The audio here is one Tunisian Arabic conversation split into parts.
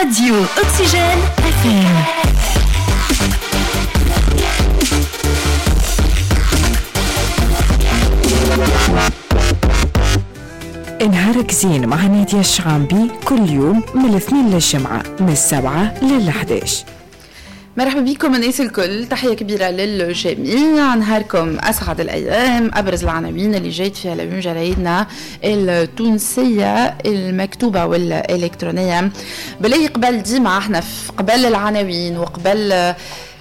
راديو أكسجين FM. نهارك زين مع نادية الشعامبي كل يوم من الاثنين للجمعة من 7 لل11. مرحبا بكم الناس الكل، تحية كبيرة للجميع، نهاركم أسعد الأيام. أبرز العناوين اللي جايت فيها اليوم جرايدنا التونسية المكتوبة والإلكترونية. بلاي قبل ديما احنا قبل العناوين وقبل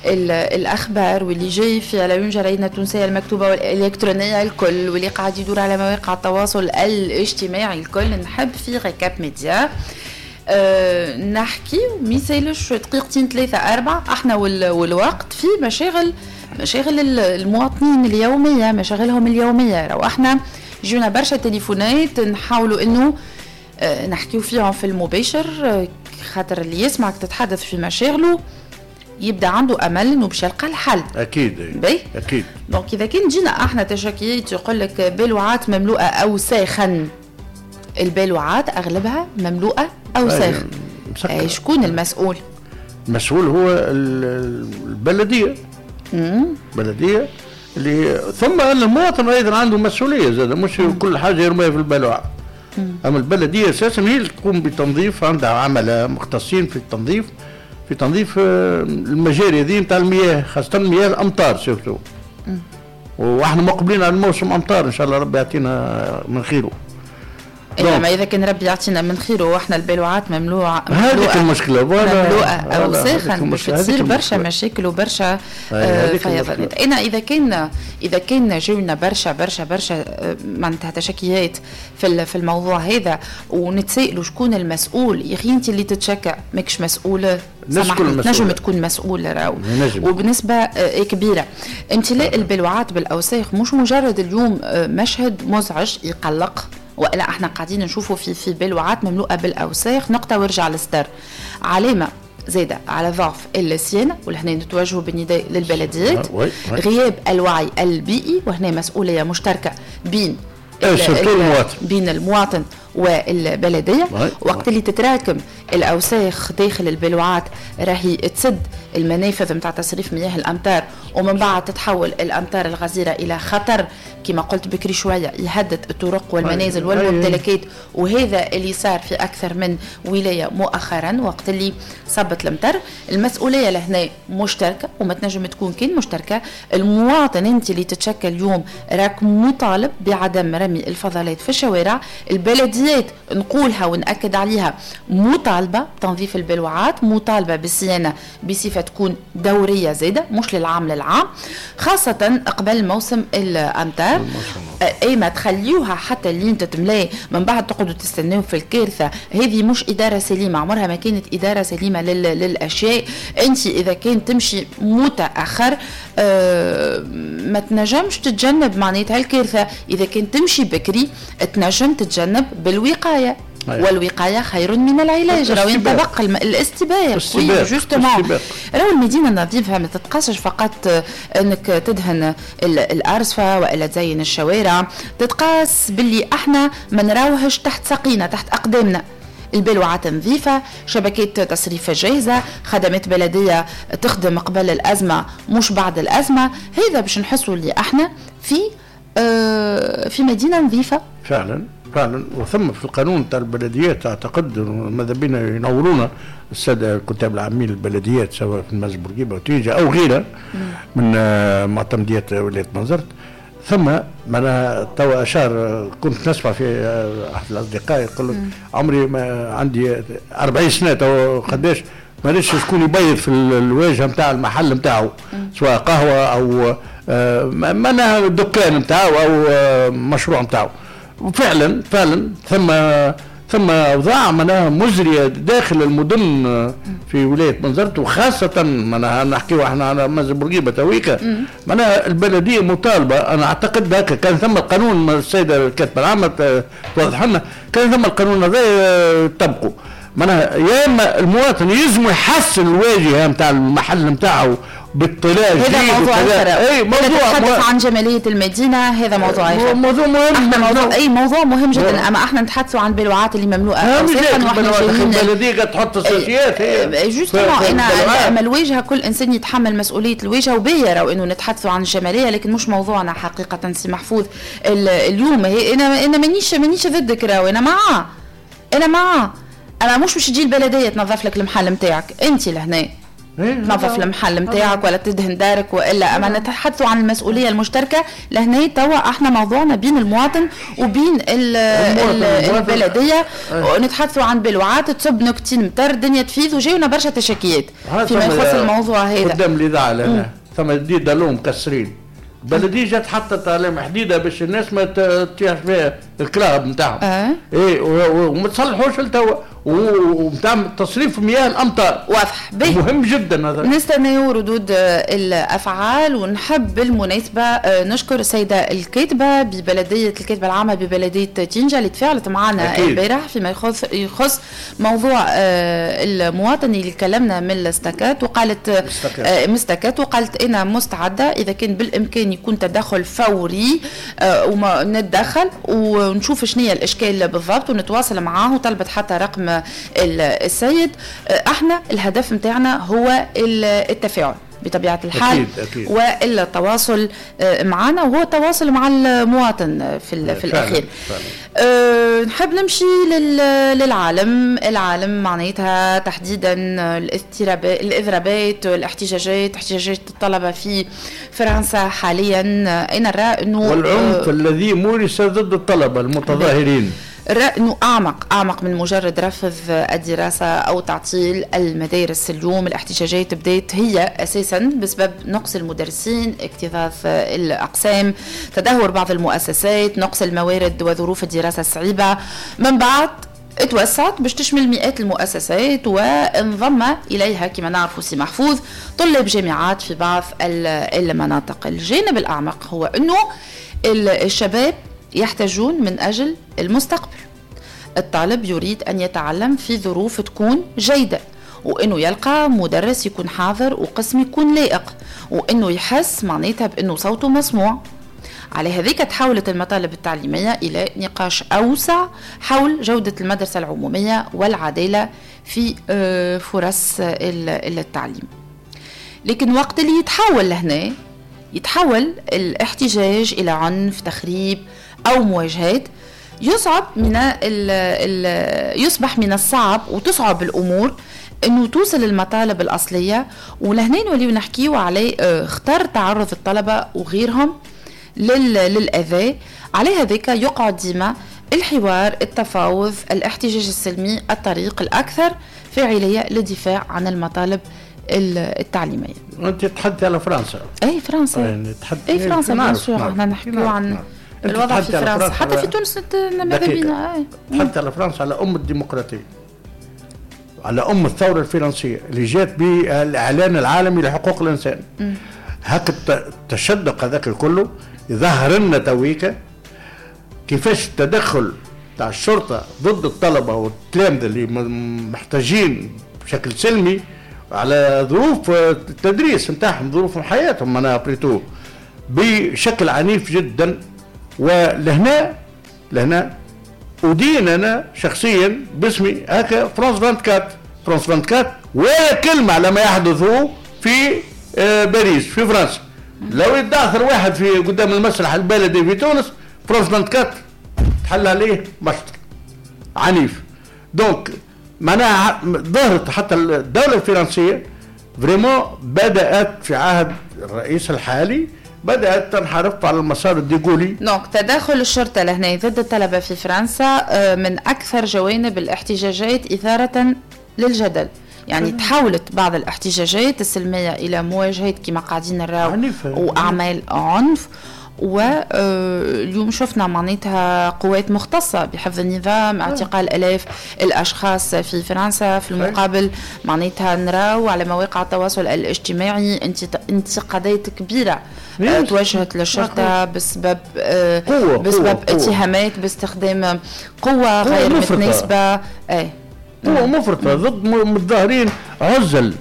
الأخبار واللي جاي في العيون جرايدنا التونسية المكتوبة والإلكترونية الكل واللي قاعد يدور على مواقع التواصل الاجتماعي الكل، نحب في récap média نحكي ميسالش دقيقتين ثلاثة أربعة احنا والوقت في مشاغل المواطنين اليومية، مشاغلهم اليومية. لو احنا جونا برشا تليفونات نحاولوا انه نحكيو فيهم في المباشر، خاطر اللي يسمعك تتحدث في مشاغله يبدا عنده امل انه باش يلقى الحل. اكيد بي؟ اكيد. donc اذا كان جينا احنا تشكيات يقول لك بالوعات مملوءة اوساخا، البالوعات اغلبها مملوءة اوساخ، شكون المسؤول؟ المسؤول هو البلدية. البلدية اللي ثم المواطن ايضا عنده مسؤولية زاد، مش كل حاجة يرميها في البالوعه. اما البلدية اساسا هي اللي تقوم بتنظيف، عندها عملاء مختصين في التنظيف، في تنظيف المجاري هذه نتاع المياه، خاصة مياه الأمطار surtout. واحنا مقبلين على الموسم أمطار إن شاء الله ربي يعطينا من خيره. إنما إذا كان ربي يعطينا من خيره وإحنا البالوعات مملوعة، هذيك المشكلة، مملوءة أوساخا، باش تصير برشا مشاكل وبرشا فيضانات. أنا إذا كان جاونا برشا برشا برشا معناتها تشكيات في الموضوع هذا ونتسائلوا شكون المسؤول. يا أخي أنت اللي تتشكى ماكش مسؤولة، نجم تكون مسؤول راهو، وبنسبة كبيرة. امتلاء البلوعات بالأوساخ مش مجرد اليوم مشهد مزعج يقلق، ولا احنا قاعدين نشوفوا في بلوعات مملوءة بالاوساخ، نقطة وارجع للستر. علامة زاده على ضعف الصيانة، ولهنا نتوجهوا بالنداء للبلديات. غياب الوعي البيئي، وهنا مسؤولية مشتركة بين بين المواطن والبلديه. وقت اللي تتراكم الاوساخ داخل البلوعات راهي تسد المنافذ نتاع تصريف مياه الامطار، ومن بعد تتحول الامطار الغزيرة الى خطر كما قلت بكري شوية، يهدد الطرق والمنازل والممتلكات. وهذا اللي صار في اكثر من ولاية مؤخرا وقت اللي صبت المطر. المسؤولية لهنا مشتركة وما تنجم تكون كان مشتركة. المواطن انت اللي تتشكى اليوم راك مطالب بعدم رمي الفضلات في الشوارع. البلديات نقولها ونأكد عليها مطالبة بتنظيف البلوعات، مطالبة بالصيانة بصفة تكون دورية زادة، مش للعام للعام، خاصة قبل موسم الأمطار. أي ما تخليوها حتى اللي تتملي من بعد تقعدوا تستناو في الكارثة. هذه مش إدارة سليمة، عمرها ما كانت إدارة سليمة للأشياء. أنت إذا كان تمشي متأخر ما تنجمش تتجنب معناتها الكارثة. إذا كان تمشي بكري تنجم تتجنب بالوقاية. والوقاية خير من العلاج. راهو ينطبق الاستباق. justement راهو المدينة النظيفة ما تتقاسش فقط انك تدهن الأرصفة والا تزين الشوارع، تتقاس باللي احنا ما نراوهش تحت ساقينا، تحت أقدامنا. البلوعات نظيفة، شبكات تصريف جاهزة، خدمات بلدية تخدم قبل الأزمة مش بعد الأزمة. هذا باش نحسوا اللي احنا في مدينة نظيفة فعلا فعلا. وثم في القانون تاع البلديات اعتقد ماذا بينا ينورونا السادة الكتاب العامين للبلديات سواء في المنزل بورقيبة وتيجا او غيرها من معتمديات ولاية بنزرت. ثم معناها توا اشار، كنت نسمع في احد الاصدقاء يقول لك عمري ما عندي 40 سنة تو قداش مانيش شكون يبيض في الواجهة نتاع المحل نتاعو، سواء قهوة او معناها الدكان نتاعو او مشروع نتاعو. وفعلا فعلا ثم اوضاع معناها مزرية داخل المدن في ولاية بنزرت، وخاصة معناها نحكيو احنا على منزل بورقيبة تويكا. معناها البلدية مطالبه، انا اعتقد هكا كان ثم القانون، السيدة الكاتبة العامة توضح لنا، كان ثم القانون هذا طبقوا. معناها يا اما المواطن يلزم يحسن الواجهة نتاع المحل نتاعو بالطلاء. هذا موضوع اخر. اي موضوع نتحدث عن جمالية المدينة، هذا موضوع اخر، موضوع مهم، موضوع اي موضوع مهم جدا. اما احنا نتحدثوا عن البلوعات اللي مملوءة اوساخا، واحنا جايين البلدية قاعد تحط الساشيات justement. انا اما الواجهة كل انسان يتحمل مسؤولية الواجهة، وباهيه راهو انه نتحدثوا عن الجمالية، لكن مش موضوعنا حقيقة سي محفوظ اليوم. انا مانيش ضدك راهو، انا معاه، انا مش باش تجي البلدية تنظف لك المحل نتاعك، انت لهنا تنظف المحل نتاعك ولا تدهن دارك والا. اما نتحدثوا عن المسؤولية المشتركة لهنا توا، احنا موضوعنا بين المواطن وبين البلدية. ونتحدثوا عن بلوعات تصب نكتين مطر، الدنيا تفيض، وجاونا برشا تشكيات فيما يخص الموضوع هذا. قدام الاذاعة لهنا ثم des dallots مكسرين، البلدية جات حطت عليهم حديده باش الناس ما تطيحش فيها الكراهب نتاعهم. اي وما تصلحوش لتوا، ومتاع تصريف مياه الامطار واضح مهم جدا هذا. نستناو ردود الافعال. ونحب بالمناسبة نشكر السيدة الكاتبة ببلديه الكاتبة العامة ببلديه تينجا اللي تفاعلت معنا البارح فيما يخص موضوع المواطن اللي كلمنا من الاستكات، وقالت مستكات، وقالت انا مستعدة اذا كان بالامكان يكون تدخل فوري وما نتدخل ونشوف شنو هي الاشكال بالضبط ونتواصل معاه، وطلبت حتى رقم السيد. احنا الهدف متاعنا هو التفاعل بطبيعة الحال. أكيد أكيد. والتواصل معنا، وهو التواصل مع المواطن في الأخير. نحب نمشي للعالم. العالم معناتها تحديدا الإضرابات والاحتجاجات، احتجاجات الطلبة في فرنسا حاليا. أنا نرى أنه والعنف الذي مورس ضد الطلبة المتظاهرين، أنه أعمق من مجرد رفض الدراسة أو تعطيل المدارس. اليوم الاحتجاجات بدأت هي أساسا بسبب نقص المدرسين، اكتظاظ الأقسام، تدهور بعض المؤسسات، نقص الموارد وظروف الدراسة الصعيبة. من بعد اتوسعت باش تشمل مئات المؤسسات، وانضم إليها كما نعرف سي محفوظ طلاب جامعات في بعض المناطق. الجانب الأعمق هو أنه الشباب يحتاجون من أجل المستقبل. الطالب يريد أن يتعلم في ظروف تكون جيدة، وأنه يلقى مدرس يكون حاضر وقسم يكون لائق، وأنه يحس معناتها بأنه صوته مسموع. على هذيك تحولت المطالب التعليمية إلى نقاش أوسع حول جودة المدرسة العمومية والعدالة في فرص التعليم. لكن وقت اللي يتحول لهنا، يتحول الاحتجاج إلى عنف، تخريب أو مواجهات، يصبح من الصعب وتصعب الأمور أنه توصل المطالب الأصلية. ولهنا نوليو نحكيو على خطر تعرض الطلبة وغيرهم للأذى. على هذاك يقعد ديما الحوار، التفاوض، الاحتجاج السلمي الطريق الأكثر فاعلية للدفاع عن المطالب التعليمية. أنت تحدث على فرنسا. أي فرنسا. أي فرنسا bien sûr، احنا نحكيو عن الوضع في فرنسا، حتى في تونس ماذا بينا. تحدث على فرنسا، على أم الديمقراطية، على أم الثورة الفرنسية اللي جات بالإعلان العالمي لحقوق الإنسان. هاك التشدق هذاك كله ظهر لنا تويكا كيفاش التدخل تاع الشرطة ضد الطلبة والتلامذة اللي محتاجين بشكل سلمي على ظروف التدريس نتاعهم، ظروف حياتهم انا بريتو بشكل عنيف جدا. ولهنا أدين أنا شخصيا باسمي هكا فرانس 24، فرانس 24 ولا كلمة على ما يحدث في باريس في فرنسا. لو يتداثر واحد في قدام المسرح البلدي في تونس، فرانس 24 تحل عليه مشط عنيف. donc معناها ظهرت حتى الدولة الفرنسية vraiment بدأت في عهد الرئيس الحالي بدأت تنحرف على المسار الديغولي. donc تدخل الشرطة لهنا ضد الطلبة في فرنسا من أكثر جوانب الاحتجاجات إثارة للجدل. يعني تحولت بعض الاحتجاجات السلمية إلى مواجهات كما قاعدين نراو وأعمال عنف. واليوم شفنا معناتها قوات مختصة بحفظ النظام، اعتقال آلاف الأشخاص في فرنسا. في المقابل معناتها نراو على مواقع التواصل الاجتماعي انتقادات كبيرة توجهت للشرطة بسبب بسبب اتهامات باستخدام قوة غير متناسبة. قوة مفرطة ضد متظاهرين عزل.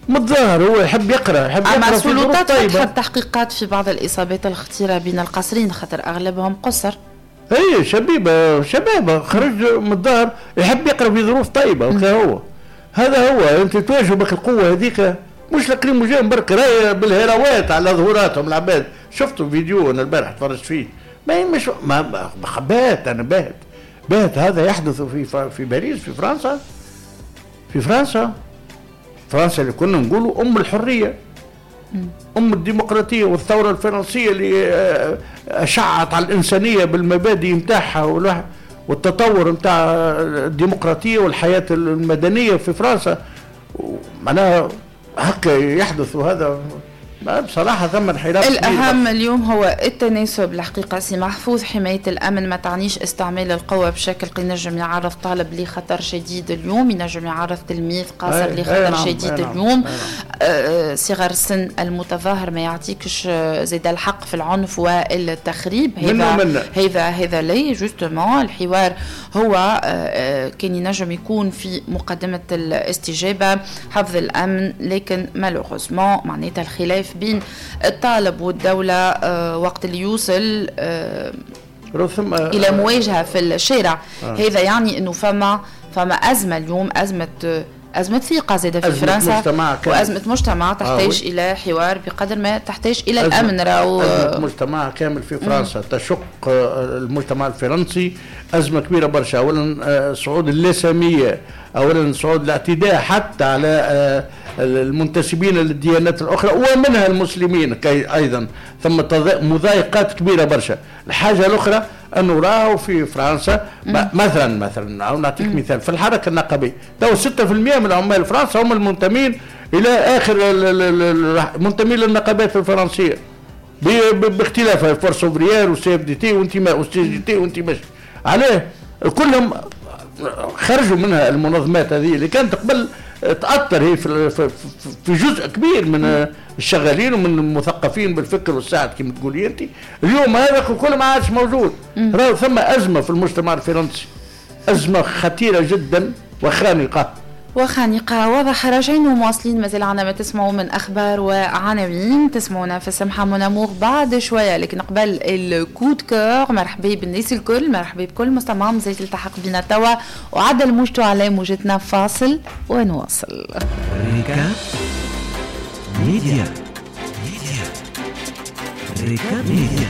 متظاهر هو يحب يقرا، يحب يقرا. أما السلطات فتحت تحقيقات في بعض الإصابات الخطيرة بين القاصرين، خاطر أغلبهم قصر. اي شبيبة، شباب خرج متظاهر يحب يقرا في ظروف طيبة، هو هذا هو. انت تواجه بك القوة هذيك، مش lacrymogène برك، راهي بالهراوات على ظهوراتهم العباد. شفتوا فيديو انا البارح تفرجت فيه، ما مش ما بات انا بات هذا يحدث في باريس، في فرنسا، في فرنسا، فرنسا اللي كنا نقولوا ام الحرية، ام الديمقراطية والثورة الفرنسية اللي اشعت على الانسانية بالمبادئ نتاعها والتطور نتاع الديمقراطية والحياة المدنية في فرنسا. معناها هكا يحدث هذا بصراحة ثم انحراف. الأهم اليوم هو التناسب الحقيقة سي محفوظ. حماية الأمن ما تعنيش استعمال القوة بشكل ينجم يعرض طالب لخطر شديد اليوم، ينجم يعرض تلميذ قاصر لخطر شديد اليوم. صغر السن المتظاهر ما يعطيكش زيد الحق في العنف والتخريب. هذا لي justement الحوار هو كان ينجم يكون في مقدمة الاستجابة، حفظ الأمن، لكن malheureusement معناتها الخلاف بين الطالب والدولة وقت اللي يوصل إلى مواجهة في الشارع. هذا يعني أنه فما أزمة اليوم، أزمة ثقة زادة في فرنسا، وأزمة مجتمع تحتاج إلى حوار بقدر ما تحتاج إلى الأمن. راهو أزمة مجتمع كامل في فرنسا، تشق المجتمع الفرنسي أزمة كبيرة برشا. أولا صعود اللاسامية، أولا صعود الاعتداء حتى على المنتسبين للديانات الأخرى ومنها المسلمين أيضا، ثم مضايقات كبيرة برشا. الحاجة الأخرى أنه راهو في فرنسا مثلا أو نعطيك مثال في الحركة النقابية، تو 6% من عمال فرنسا هم المنتمين إلى آخر منتمين للنقابات الفرنسية باختلافها، Force ouvrière و CFDT وانتماء و CGT وانتماء عليه، كلهم خرجوا منها المنظمات هذه اللي كانت قبل تأثر هي في جزء كبير من الشغالين ومن المثقفين بالفكر والساعد كما تقولي انت. اليوم هذا كله ما عادش موجود. راهو ثم أزمة في المجتمع الفرنسي، أزمة خطيرة جدا وخانقة. واضح. راجعين ومواصلين، مازال عنا ما تسمعوا من أخبار وعناوين، تسمعونا في السمحة mon amour بعد شوية، لكن قبل ال coup de cœur. مرحبا بالناس الكل، مرحبا بكل مستمع مازال تلتحق بنا توا وعدل موجته على موجتنا. فاصل ونواصل. ريكا ميديا، ريكا ميديا.